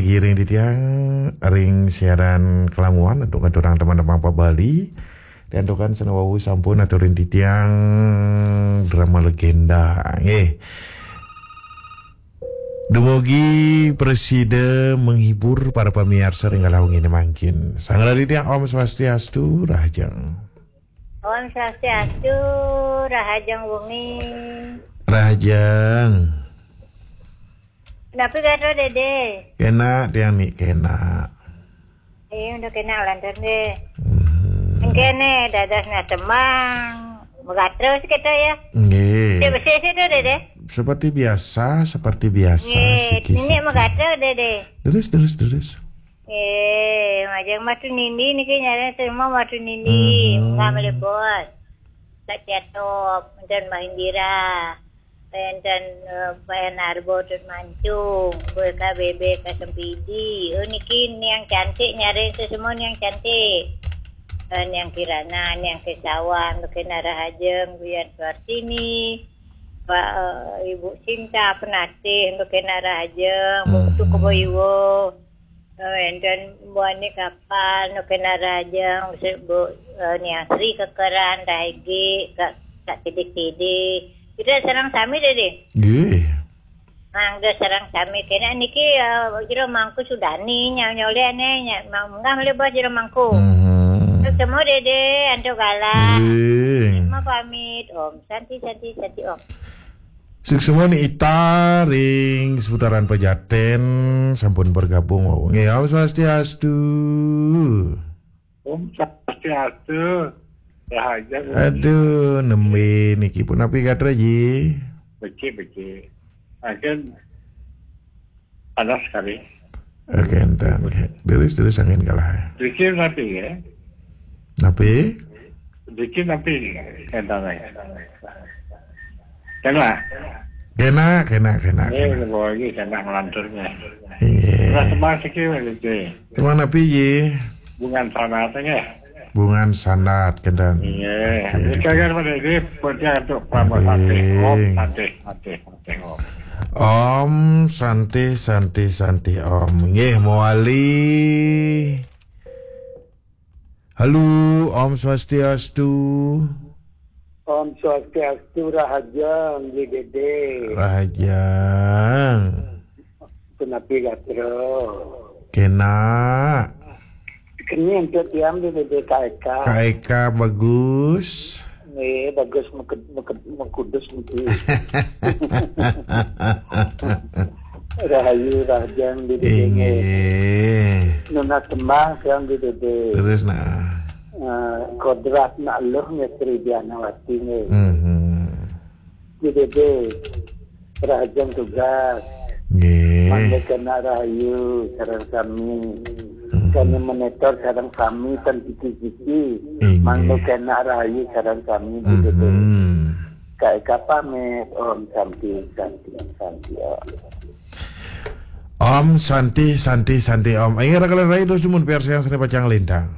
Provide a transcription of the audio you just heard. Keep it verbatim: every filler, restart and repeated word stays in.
Giring titiang ring siaran kalamuan untuk ngaturang teman-teman pa Bali. Diantukan sanawawu sampun aturin titiang drama legenda. Nggih. Dumugi prasida menghibur para pamiarsa ring kalawan ngene mangkin. Sang Raditya, Om Swastiastu, Rahajeng. Om Swastiastu, Rahajeng wengi. Rahajeng. Napi gatra, Dede? Kena tiang ni kena. Eh, udah kena lantur deh. Hmm. Engkene dados natembang. Megatra sih kita ya. Nggih. Dia bersih sih tuh, Dede. Seperti biasa, seperti biasa. Nggih, siki, ini siki. Megatra, Dede. Terus, terus, terus. Eh, majeng Matu Nindi niki nyareng semua Matu Nindi, hmm, enggak melebos. Kak Cetop, dan Mbah Indira. Wenten, eh, Bayan Arbo, Tut Mancung, Boy K B B, K Sempidi. Oh, niki niang cantik, nyareng semua niang cantik. Eh, niang Kirana, niang Kesawan, Bekena Rahajeng, Buyan Suartini, Pak, eh, Ibu Cinta Penatih, Bekena Rahajeng, Bu Tuku Boyuwo. Oh, enten buane kapal, Bekena Rahajeng, Bu, eh, niang Sri Kekeran, Rahege, Kak, Kak Tidik-Tidik. Kita sareng sami, Dede. Nggih. Mangga sareng sami kene niki, eh, Jero Mangku Sudani, nyau nyole ane, nya-, mang-, munggah mele bos Jero Mangku. Mhm. Terus semua Dede, antuk galah. Nggih. Semua pamit, Om. Santi, Santi, Santi, Om. Suksma ni Ita ring seputaran Pejaten sampun bergabung wau. Nggih, Om Swastiastu. Om Swastiastu. Rahaja. Aduh, nembe niki punapi gatra ji? Becik, becik. Angken panas sekali. Oke, enten. Terus, terus angin kalah. Dikit nanti ya. Napi? Dikit nanti enten ya. Kena. Kena, kena, kena, eh, kena. Lagi kena ngelanturnya. Iya. Nah, teman sikit lagi. Teman napi ji? Bungan sana tengah. Bungan sandat, kenten. Iya. Oke, ini kagak pada ini, penting untuk Prabu Santih. Om Santih, Santih, Santih, Santih, Om. Nggih, mawali. Halo, Om Swastiastu. Om Swastiastu, Rahajeng, Dede. Rahajeng. Punapi gatra? Kena. Keni antuk tiang di D D K E K. K E K bagus. Nggih, bagus meked-, meked-, mekudus niki. Rahayu rahajeng di D D K. Inggih. Nunas tembang tiang di D D K. Terus nah. Eh, kodrat nak luh nggih Sri Dianawati nggih. Mhm. Di D D K, rahajeng tugas. Nggih. Mangda kena rahayu sareng sami. Hmm. Kami monitor sareng sami tan siki-siki. Inggih. Mangda kena rahayu sareng sami di D D K. Hmm. K E K pamit, Om Santi, Santi, Santi, Om. Om Santi, Santi, Santi, Om. Inggih, raka lan rai, terus dumun piarsayang sane pacang lintang.